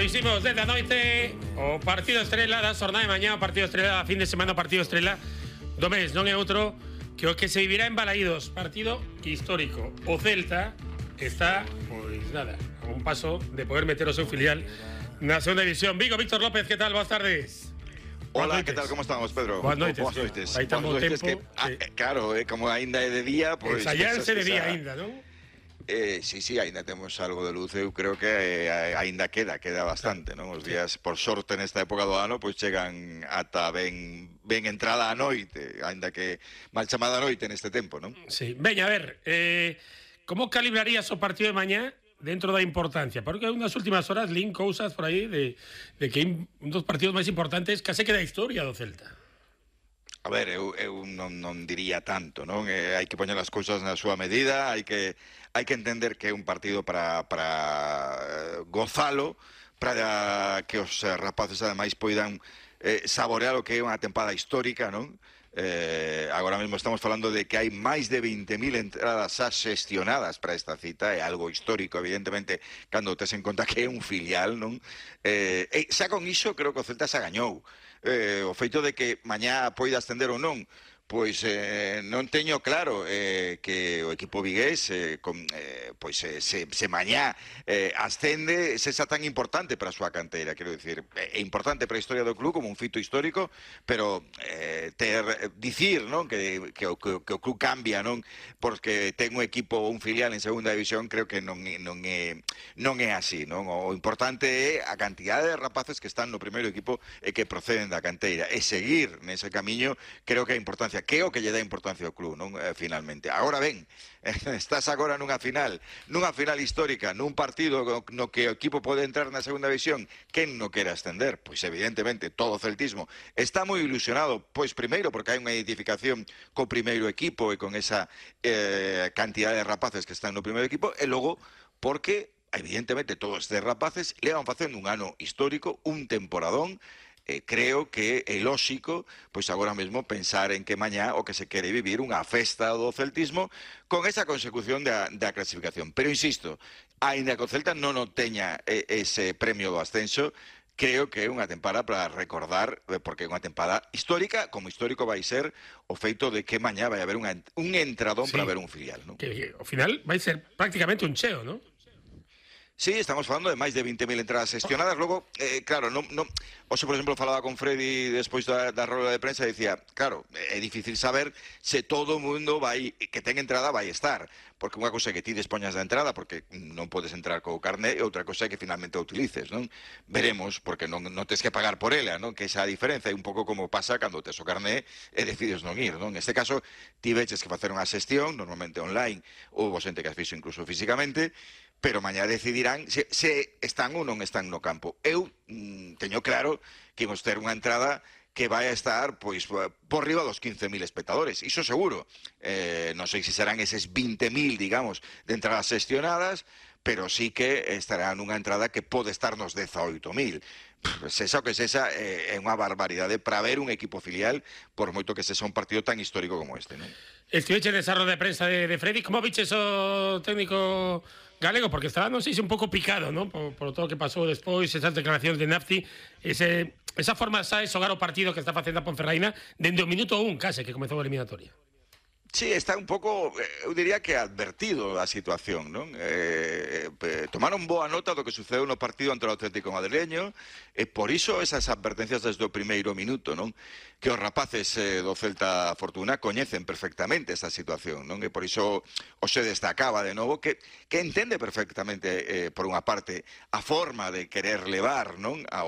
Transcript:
dicimos desde a noite o partido estrela da xornada de mañá, o partido estrela da fin de semana, o partido estrela do mes, non é outro que o que se vivirá en Balaídos, partido histórico. O Celta está, pois nada, a un paso de poder meter o seu filial na segunda división. Vigo, Víctor López, que tal? Boas tardes. Hola, ¿qué tal? ¿Cómo estamos, Pedro? Boas noites. Boas noites. Hai tan bo tempo. Claro, como ainda é de día, pois... Ensaiarse de día ainda, non? Sí, ainda temos algo de luz. Eu creo que ainda queda bastante, non? Os días, por sorte, nesta época do ano, pois chegan ata ben entrada a noite, ainda que mal chamada a noite neste tempo, non? Sí. Veña, a ver, como calibrarías o partido de mañá dentro da importancia? Porque unhas últimas horas lín cousas por aí de que un dos partidos máis importantes case que da historia do Celta. A ver, eu non diría tanto, non? Hai que poñer as cousas na súa medida, hai que entender que é un partido para gozalo, para que os rapaces ademais poidan saborear o que é unha tempada histórica, non? Agora mesmo estamos falando de que hai máis de 20.000 entradas xa xestionadas para esta cita, é algo histórico, evidentemente, cando tes en conta que é un filial, non? Xa con iso creo que o Celta xa gañou. O feito de que mañá poida ascender ou non, pois non teño claro que o equipo vigués se mañá ascende sexa tan importante para a súa canteira. Quero dicir, é importante para a historia do club como un fito histórico, pero dicir, non, que o club cambia, non, porque ten un equipo ou un filial en segunda división, creo que non é así, non? O importante é a cantidade de rapaces que están no primeiro equipo e que proceden da canteira, e seguir nese camiño. Creo que a importancia, que é o que lle dá importancia ao club, non? Finalmente. Agora ben, estás agora nunha final histórica, nun partido no que o equipo pode entrar na segunda división. Quen non quere ascender? Pois evidentemente todo o celtismo está moi ilusionado, pois primeiro porque hai unha identificación co primeiro equipo e con esa cantidad de rapaces que están no primeiro equipo, e logo porque evidentemente todos estes rapaces levan facendo un ano histórico, un temporadón. Creo que é lóxico, pois agora mesmo, pensar en que mañá o que se quere vivir unha festa do celtismo con esa consecución da clasificación. Pero insisto, aínda que o Celta non teña ese premio do ascenso, creo que é unha tempada para recordar, porque é unha tempada histórica, como histórico vai ser o feito de que mañá vai haber un entradón para ver un filial, non? Que ao final vai ser prácticamente un cheo, non? Sí, estamos falando de máis de 20.000 entradas xestionadas. Logo, claro, hoxe, por exemplo, falaba con Freddy despois da roda de prensa e dicía, claro, é difícil saber se todo o mundo que ten entrada vai estar, porque unha cousa é que ti dispoñas da entrada porque non podes entrar co carné, e outra cousa é que finalmente a utilices, non? Veremos, porque non tes que pagar por ela, non? Que esa diferencia é un pouco como pasa cando tes o carné e decides non ir, non? Neste caso, ti veches que facer unha xestión, normalmente online, ou xente que as fixo incluso físicamente, pero mañá decidirán se están ou non están no campo. Eu teño claro que imos ter unha entrada que vai a estar pois por riba dos 15.000 espectadores, iso seguro. Non sei se serán eses 20.000, digamos, de entradas xestionadas, pero sí que estará nunha entrada que pode estar nos 18.000. Sexa o que sexa, é unha barbaridade para ver un equipo filial, por moito que sexa un partido tan histórico como este, non? Estiveche nesa roda de prensa de Freddy, como viches o técnico galego? Porque estaba, non sei se un pouco picado, non? Por todo o que pasou despois, esas declaracións de Nafti, esa forma de xogar o partido que está facendo a Ponferraina dende o minuto 1, case, que comezou a eliminatoria. Sí, está un pouco, eu diría que advertido da situación, non? Tomaron boa nota do que sucedeu no partido ante o Atlético Madrileño, e por iso esas advertencias desde o primeiro minuto, non? Que os rapaces do Celta Fortuna coñecen perfectamente esa situación, non? E por iso se destacaba de novo que entende perfectamente, por unha parte, a forma de querer levar, non? A